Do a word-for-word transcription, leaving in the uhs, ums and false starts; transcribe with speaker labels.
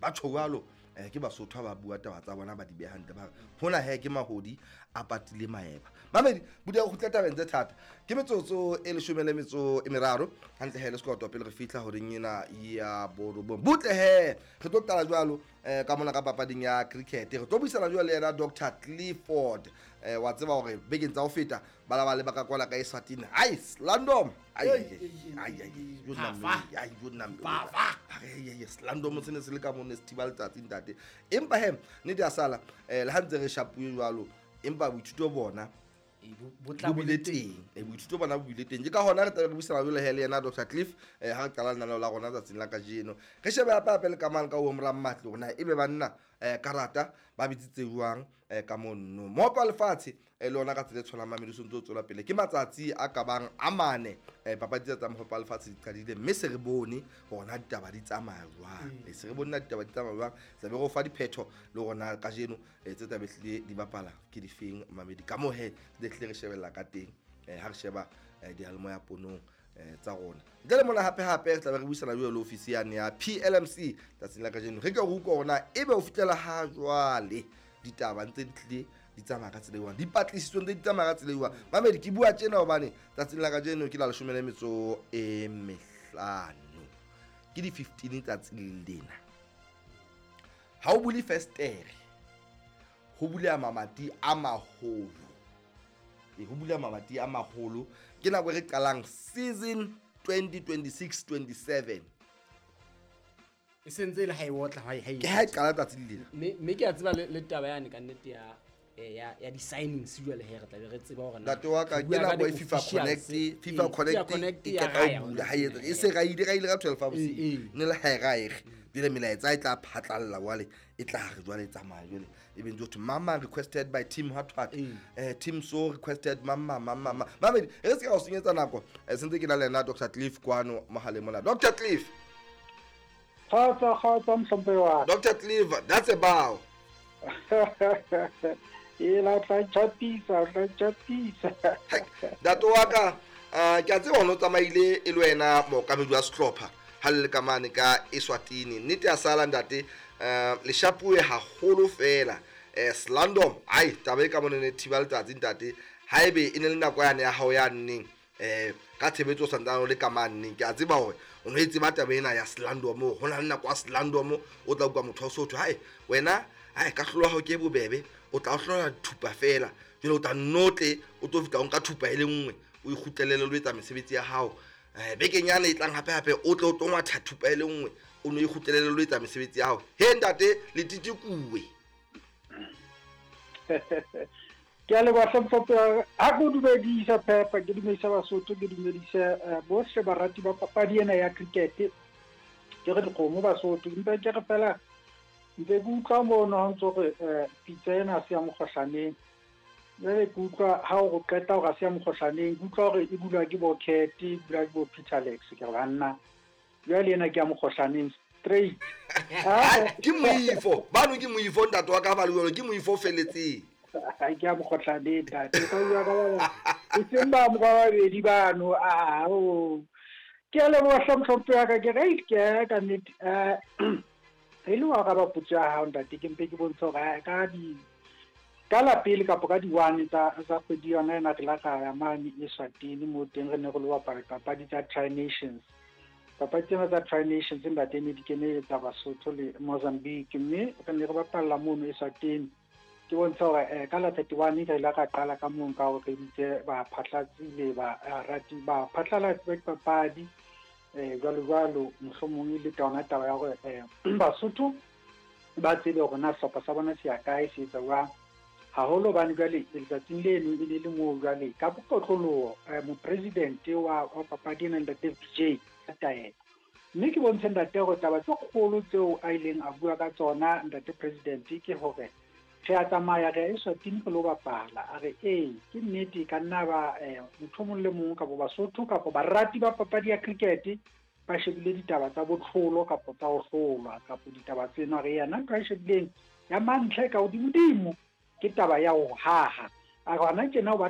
Speaker 1: Ba tjho jwalo eh ke Basotho ha ba bua taba tsa bona ba di beha hantle, ba re hona he ke mahodi a patile maeba. Mamedi budia go kgutla tabeng tse thata, ke metsotso e leshome le metso e meraro hantle he le sekoto pele re fihla horeng ena ya borobong. Butle he re tlo qala jwalo eh ka mona ka papading ya cricket, re tlo buisana jwalo le yena Doctor Clifford. Eh wa tseba hore bekeng tsa ho feta ba la ba le ba ka kwala ka Eswatini. Ai Slandom, ai ai ai yo nna ai yo nna ai Slandom se ne se le ka mone se thiba letsatsi ntate. Empa he nnete ya sala eh le ha ntse re shapuwe jwalo, empa boithuto bona bo bile teng, boithuto bona bo bile teng. Ke ka hona re tla re buisana jwalo he le yena Doctor Cliff eh ha re qala lenaneo la rona tsatsing la kajeno. Re shebe hape hape le kamano ka ho mora Mmatlo hore na ebe banna eh karata ba bitsitse jwang eh ka monno. Mohope wa lefatshe eh le ona ka tsela e tshwanang Mamedi o ntse o tswela pele, ke matsatsi a ka bang a mane eh papadi tsa mohope wa lefatshe di qadile, mme se re bone hore na ditaba di tsamaya jwang. E se re bone na ditaba di tsamaya jwang, se be re o fa diphetho le rona kajeno tse tla be hlile di bapala ke difeng Mamedi. Ka moo he le hlile re shebella ka teng eh ha re sheba diyalemoya ponong tsa rona. Ntle le mona hape hape re tla be re buisana jwalo le ofisi yane ya P L M C tsatsing la kajeno. Re ke re utlwe hore na ebe ho fihlela ha jwale ditaba ntse di tlile di tsamaya ka tsela e jwang, dipatlisiso ntse di tsamaya ka tsela e jwang. Mamedi ke bua tjena hobane tsatsing la kajeno ke la leshome le metso e mehlano, ke di fifteen tsatsing lena. Ha o bule festere ho buleha mamati a maholo, e ho buleha mamati a maholo. Ke nako e re qalang season twenty twenty-six twenty-seven
Speaker 2: e sentse le ha e otla ha e
Speaker 1: ke ha e qala tsatsi lena.
Speaker 2: Mme mme ke a tseba le taba yane ka nnete ya ya ya di signings jwale he re tla be re tseba hore na
Speaker 1: ntate wa ka ke nako e FIFA Connect, FIFA Connect e qeta ho bula ha etsa e se ra ile ra ile ka twelve bosiu ne le ha e ra ere jwale melaetsa e tla phatlalla jwale e tla re jwale tsamaya jwale e be ntse ho mama requested by team hot hot eh team so requested mama mama mama. Mamedi re se ka o senyetsa nako sentse ke na le yena Doctor Cliff kwano mohaleng mona. Doctor Cliff,
Speaker 3: kgotsa kgotsa mhlomphe wa
Speaker 1: Doctor Cliff, that's a bow.
Speaker 3: E la tla tjapisa, tla tjapisa.
Speaker 1: Ntate wa ka ke a tseba hore o tsamaile e le wena mookamedi wa sehlopha ha le le ka mane ka Eswatini. Nnete ya sala ntate le shapuwe haholo fela eh Slandom ai taba e ka mona ne thiba letsatsi ntate. Haebe e ne le nako yane ya hao ya nneng eh ka tshebetso santsane o le ka mane, ke a tseba hore o no e tseba taba ena ya Slandom, ho na le nako ya Slandom o tla utlwa motho wa Sotho hae wena ai ka hlolwa hao ke bobebe, o tla o hlola thupa fela jwale o tla notle o tlo fihla o nka thupa e le nngwe o ikgutlelele lo etsa mesebetsi ya hao. Eh bekeng yane e tlang hape hape o tle o tlo ngwatha thupa e le nngwe o no ikgutlelele lo etsa mesebetsi ya hao. He ntate le titikuwe.
Speaker 3: Ke a leboha hlomphe ha ke dumedisa Phepa, ke dumedisa Basotho, ke dumedisa bohle barati ba papadi ena ya cricket. Ke re dikgomo Basotho, mpe ke re fela ntse ke utlwa mono ha ntso re pitsa ena ha se ya mokgohlaneng. Jwale ke utlwa ha o qeta hore ha se ya mokgohlaneng, ke utlwa hore e bulwa ke bo Cat, e bulwa ke bo Peter Lex, ke re banna jwale ena ke ya mokgohlaneng straight.
Speaker 1: Ke moifo bano, ke moifo ntate wa ka ba le jwalo, ke moifo feletseng.
Speaker 3: Ha ke ya mokgohlaneng ntate, ka bua ka ba e seng ba mo ba babedi bano. A o ke a leboha hlomphe ya ka, ke re ke ka nnete eh e le wa araba potso ya hao ntate, ke mpe ke bontshe hore ka di ka la pele kapa ka di-one tsa tsa kgwedi yona ena re la ka ya mane Eswatini mo teng re ne re lo bapala papadi tsa Tri-Nations. Papadi tsena tsa Tri-Nations ntate ne di keneletsa Basotho le Mozambique, mme re ne re bapalla mono Eswatini. Ke bontsha hore ka la thirty-one re ile ra qala ka mong ka hore re bitse baphatlatsi le barati ba phatlalatsi ba dipapadi eh jwalo jwalo, mohlomong e le tona taba ya hore Basotho ba tsebe hore na sehlopha sa bona se ya kae, se etsa jwang. Haholo hobane jwale letsatsing leno e ne le moo jwale ka bokotloloho mopresidente wa papadi ena ntate V J taelo. Mme ke bontshe ntate hore taba tse kgolo tseo a ileng a bua ka tsona ntate president ke hore re a tsamaya re ya Eswatini re lo bapala. A re ee ke nnete ka nna ba motho mong le mong kapa Basotho kapa barati ba papadi ya cricket ba shebile ditaba tsa botlholo kapa tsa ho hlolwa kapa ditaba tseno. A re yena ntho a e shebileng ya mantlha e ka hodimodimo ke taba ya ho haha. A re hona tjena o batla